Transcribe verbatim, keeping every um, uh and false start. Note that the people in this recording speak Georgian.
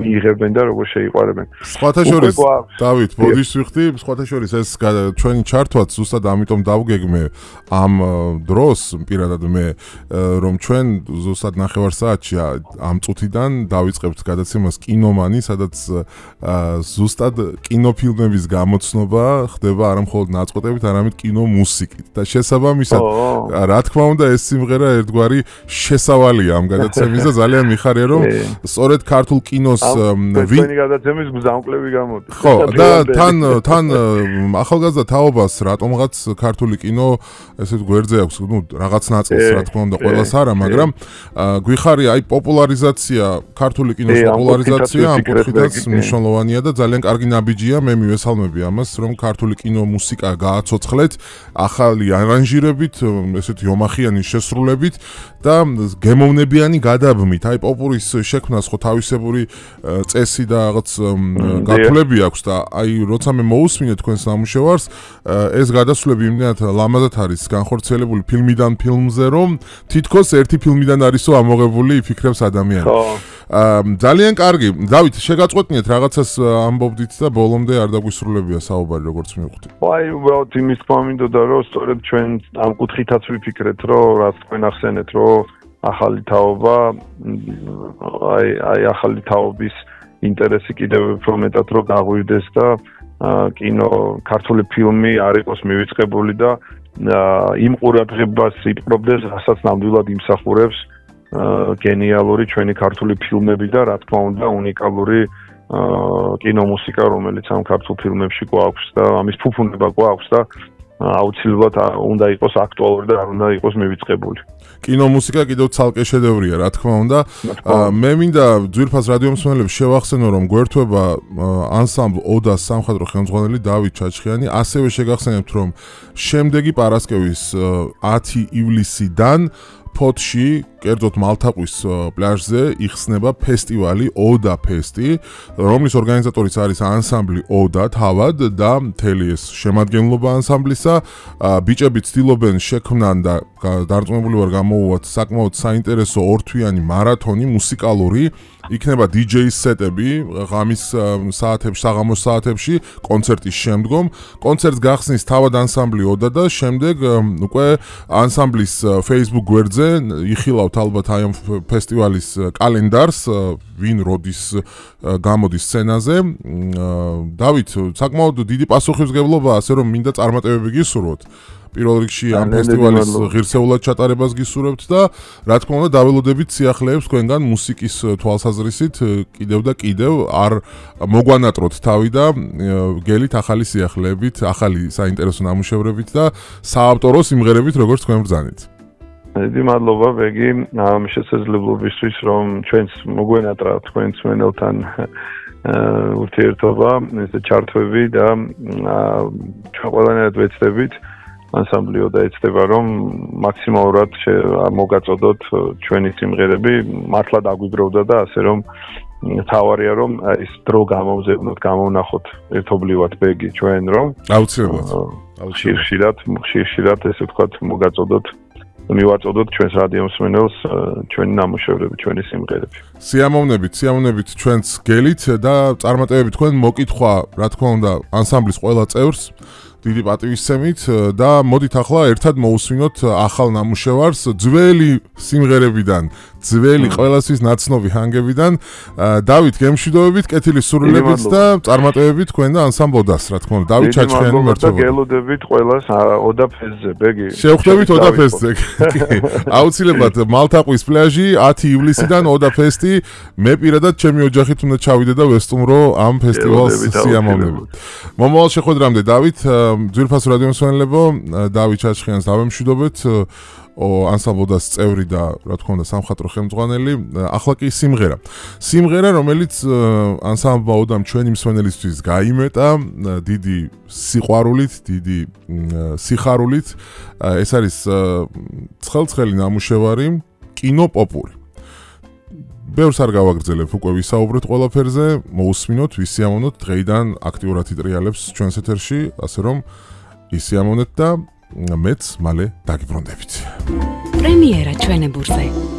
მიიღებენ და როგორ შეიყვარებენ. სხვათა შორის დავით, ბოდიშს ვიხდი, სხვათა შორის ეს ჩვენი ჩართვაც ზუსტად ამიტომ დავგეგმე ამ დროს პირადად მე რომ ჩვენ ზუსტად ნახევარ საათში ამ წუთიდან დავიწყებთ გადაცემას კინომანი, სადაც ზუსტად კინოფილმების გამოცნობა ხდება არა მხოლოდ ნაწყვეტებით, არამედ კინომუსიკით და შესაბამისად რა თქმა უნდა ეს სიმღერა ერთგვარი შესავალია ამ გადაცემის და ძალიან მიხარია რომ სწორედ ქართულ კინოს ვინი გადაცემის გზამკვლევი გამოდის. ხო და თან თან ახალგაზრდა თაობას რატომღაც ქართული კინო ესეთ გვერდზე აქვს, ну რაღაც ნაწილს რა თქმა უნდა ყველას არა, მაგრამ გვიხარია აი პოპულარიზაცია, ქართული კინოს პოპულარიზაცია ამ კუთხითაც მნიშვნელოვანია და ძალიან კარგი ნაბიჯია, მე მივესალმები ამას, რომ ქართული კინო მუსიკა გააცოცხლეთ ახალი არანჟირებით, ესეთი ომახიანი შესრულებით და გემოვნებიანი გადაბმით. აი პოპურის შექმნას ხო თავისებური წესი და რაღაც გათვლები აქვს და აი როცა მე მოусმინე თქვენს ნამუშევარს, ეს გადასვლები იმდენად ლამაზად არის განხორციელებული ფილმიდან ფილმზე, რომ თითქოს ერთი ფილმიდან არისო ამოღებული იფიქრებს ადამიანი. ძალიან კარგი. დავით, შეგაწყვეტნიეთ რაღაცას ამბობდით და ბოლომდე არ დაგვისრულებია საუბარი როგორც მივხვდი. აი უბრალოდ იმის თქმა მინდოდა რომ სწორედ ჩვენ ამ კუთხითაც ვიფიქრეთ, რომ რაც თქვენ ახსენეთ, რომ ახალი თაობა აი აი ახალი თაობის ინტერესი კიდევ უფრო მეტად რომ გაღვივდეს და კინო ქართული ფილმი არ იყოს მივიწყებული და იმ ყურადღებას იპყრობდეს, რასაც ნამდვილად იმსახურებს გენიალური ჩვენი ქართული ფილმები და რა თქმა უნდა უნიკალური კინომუსიკა, რომელიც ამ ქართულ ფილმებში გვაქვს და ამის ფუფუნება გვაქვს და აუცილებლად უნდა იყოს აქტუალური და არ უნდა იყოს მივიწყებული. კინომუსიკა კიდევ ცალკე შედევრია, რა თქმა უნდა. მე მინდა ძვირფას რადიომსმენელებს შევახსენო, რომ გვერდება ანსამბლ ოდას სამხატვრო ხელმძღვანელი დავით ჩაჩხიანი, ასევე შეგახსენებთ, რომ შემდეგი პარასკევის ათი ივლისიდან ფოთში, კერძოდ მალთაყვის პლაჟზე იხსნება ფესტივალი ოდა ფესტი, რომლის ორგანიზატორიც არის ანსამბლი ოდა თავად და მთელი ეს შემადგენლობა ანსამბლისა. ბიჭები ცდილობენ შექმნან და დარწმუნებული ვარ გამოუვათ საკმაოდ საინტერესო ორთვიანი მარათონი მუსიკალური, იქნება დი-ჯეის სეტები ღამის საათებში, საღამოს საათებში, კონცერტის შემდგომ. კონცერტს გახსნის თავად ანსამბლი ოდა და შემდეგ უკვე ანსამბლის Facebook გვერდზე იხილავთ ალბათ აი ამ ფესტივალის კალენდარს, ვინ როდის გამოდის სცენაზე. დავით, საკმაოდ დიდი პასუხისმგებლობა, ასე რომ მინდა წარმატებები გისურვოთ. პირველ რიგში ამ ფესტივალის ღირსეულად ჩატარებას გისურვებთ და რა თქმა უნდა დაველოდებით სიახლეებს თქვენგან მუსიკის თვალსაზრისით კიდევ და კიდევ არ მოგვანატროთ თავი და გელით ახალი სიახლეებით, ახალი საინტერესო ნამუშევრებით და საავტორო სიმღერებით როგორც თქვენ ბრძანით. დიდი მადლობა ბეგი ამ შესაძლებლობისთვის, რომ ჩვენს მოგვენატრა თქვენ მსმენელთან ურთიერთობა, ესე ჩართვები და ჩვენ ყველანაირად ვეცდებით ანსამბლი ოდა ეცდება, რომ მაქსიმალურად მოგაწოდოთ ჩვენი სიმღერები, მართლა დაგვიგროვდა და ასე რომ თავარია რომ ის დრო გამოვზევნოთ, გამოვნახოთ ერთობლივად ბეგი ჩვენ რომ აუცილებლად ხშირ-ხშირად, ხშირ-ხშირად ესე ვთქვათ მოგაწოდოთ მივაწოდოთ ჩვენს რადიომსმენელს ჩვენი ნამუშევრები, ჩვენი სიმღერები. სიამოვნებით, სიამოვნებით ჩვენს გელით და წარმატებები თქვენ მოკითხვა, რა თქმა უნდა, ანსამბლის ყველა წევრს. დიდი პატივისცემით და მოდით ახლა ერთად მოусმინოთ ახალ ნამუშევარს ძველი სიმღერებიდან, ძველი ყველასთვის ნაცნობი ჰანგებიდან. დავით, გემშვიდობებით, კეთილი სურვილებით და წარმატებებით თქვენ და ანსამბლ ოდას, რა თქმა უნდა. დავით ჩაჩხიანი მერთობა. გელოდებით ყველას ოდა ფესტზე, ბეგი. შევხვდებით ოდა ფესტზე. აუცილებლად მალთაყვის პლაჟი ათი ივლისიდან ოდა ფესტი. მე პირადად ჩემი ოჯახით უნდა ჩავიდე და ვესტუმრო ამ ფესტივალს სიამოვნებით. მომავალ შეხვედრამდე დავით, ძვირფას რადიომსმენელებო, დავით ჩაჩხიანს დავემშვიდობეთ. ანსამბლ ოდას წევრი და რა თქმა უნდა სამხატვრო ხელმძღვანელი. ახლა კი სიმღერა. სიმღერა, რომელიც ანსამბლ ოდამ ჩვენი მსმენელისთვის გაიმეტა დიდი სიყვარულით, დიდი სიხარულით. ეს არის ცხელ-ცხელი ნამუშევარი, კინოპოპური. ბევრს არ გავაგრძელებ, უკვე ვისაუბრეთ ყველაფერზე, მოусმინოთ, ვისიამოვნოთ, დღეიდან აქტიურად იტრიალებს ჩვენს ეთერში, ასე რომ ისიამოვნეთ და მეც მალე დაგიბრუნდებით. პრემიერა ჩვენებურზე.